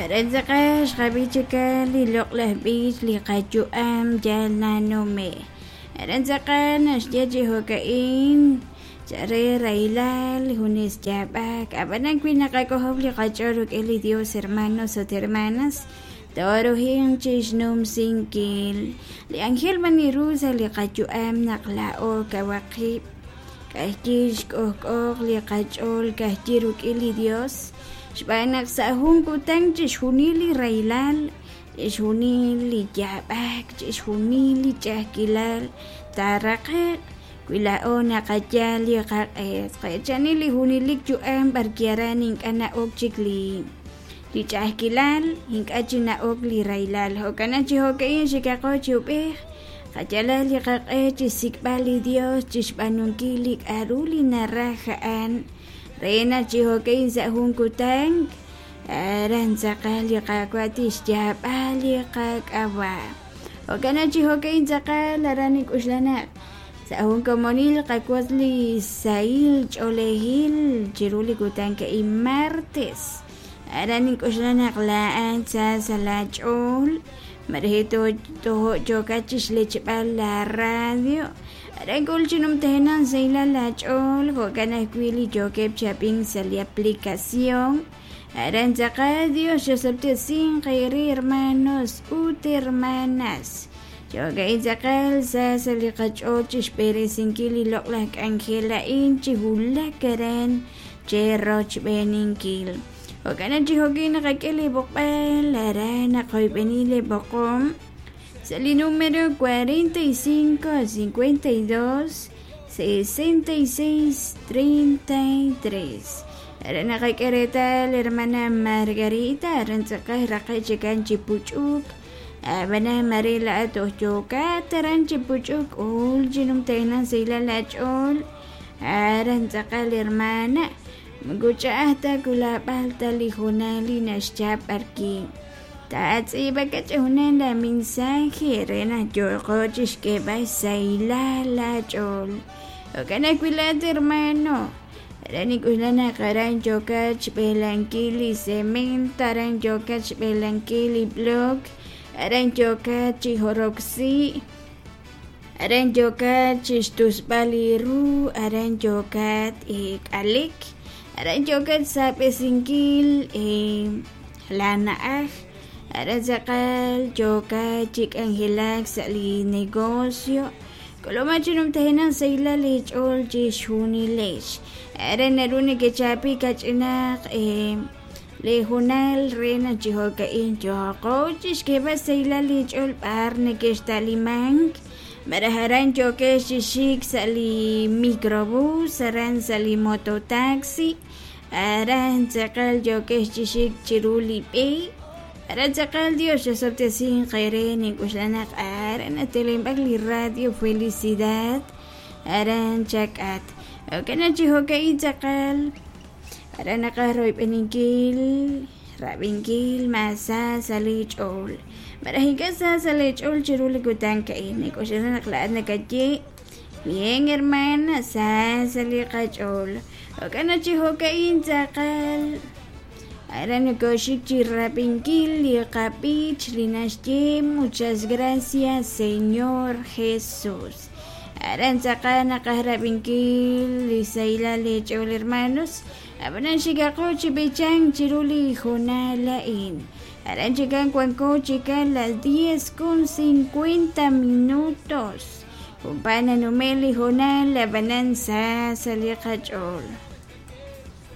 Aran tz'aqal xqab'i chikan li loq'laj b'ich li qayu'am yal nanume'. Aran tz'aqal naxye chi jo'ka'in chare rahilal junes yaab'ak ab'anan wi naqak'ojob' li qach'ool rik'in li Dios hermanos ut hermanas tooruhinq chi xnumsinkil li anjel b'an ru sa' li qayu'am naq laa'o kawaq qib' k'ajyi xk'ojk'ooq li qach'ool k'ajyi rik'in li Dios xb'aan naq sa' jun kutan chixjunil li rahilal chixjunil li yaab'ak chixjunil li ch'a'ajkilal taaraqe'q wi laa'o naqayal li qaq'e tqechani li junelik yu'am b'arki aran ink'a' na'ok chik li li ch'a'ajkilal ink'a' chi na'ok li rahilal jo'kan chi jo'ka'in xikaqo chi ub'ej qayalal li qaq'e chixsik'b'al li Dios chixb'aanunkil li k'a'ru li naraj a'an re naq chi jo'ka'in sa' jun kutan aran tz'aqal li Qaawa' tixyaab'a li qak'ab'a' jo'kan chi jo'ka'in tz'aqal aran nik'uxlanaq sa' jun komonil qawotz li sahil ch'oolejil chiru li kutan ka'in martes aran nink'uxlanaq laa'at sa sa' laach'ool mareje tojo' yookat chixlechb'al la radio aran k'ul chi numtajenaq sahilal laach'ool jo'kan ajwi' li yookeb' chi ab'ink sa' li aplicación aran tz'aqal Dios xosob'tesinq eere hermanos ut hermanas jo'ka'in tz'aqal sa sa' li qach'ool chixb'eresinkil li loq'laj k'anjel a'in chi wulak aran cherochb'eeninkil jo'kan chi jo'kin naqak'e li b'oqb'al aran naqoyb'eni li b'oqom sa' li número 45 52 66 33 aran naqak'e reetal hermana Margarita aran tz'aqal raqe' chikan chi puch'uk ab'anan mare laa'at toj yookat aran chi puch'uk ul chi numtajenaq sahilal laach'ool aran tz'aqal hermana moko ch'a'aj ta kulab'al ta li hoonal li naxchap b'arki taatz'iib'aka chi junal la mensaje re naq yooqo chixk'eeb'al xsahilal laach'ool jo'kan ajwi' laa'at hermano aran nik'uxlanaq aran yookat xb'elankil li cemento aran yookat xb'elankil li block aran yookat chi joroksi aran yookat chixtusb'al li ru aran yookat k'alik aran yookat xsab'esinkil la na'aj aran tz'aqal yookat chi k'anjelak sa' li negocio k'ulub'aj chi numtajenaq sahilal eech'ool chixjunilex aran naru nekechapi kach'inaq li hoonal re naq chi jo'ka'in yooqo chixk'eeb'al xsahilal eech'ool b'ar nekexta'limank malaj aran yookex chi xik sa' li microbús aran sa' li mototaxi aran tz'aqal yookex chi xik chiru li b'e aran tz'aqal Dios xosob'tesinq eere nink'uxlanaq aran natelenb'ak li radio Felicidad aran chak'at jo'kan chi jo'ka'in tz'aqal aran naqaj royb'eninkil rab'inkil ma sa sa' li ch'ool malaj ink'a' sa sa' li ch'ool chiru li kutan ka'in nik'uxlanaq laa'at nakaye bien hermana sa sa' li qach'ool jo'kan chi jo'ka'in tz'aqal aran nokoxik chi rab'inkil li qab'ich li naxye muchas gracias Señor Jesús aran tz'aqal naqaj rab'inkil li sahilal eech'ool hermanos ab'anan xikaqo chi b'ichank chiru li hoonal a'in aran chikan wanko chikan las 10:50 minutos junp'al nanume' li hoonal ab'anan sa sa' li qach'ool.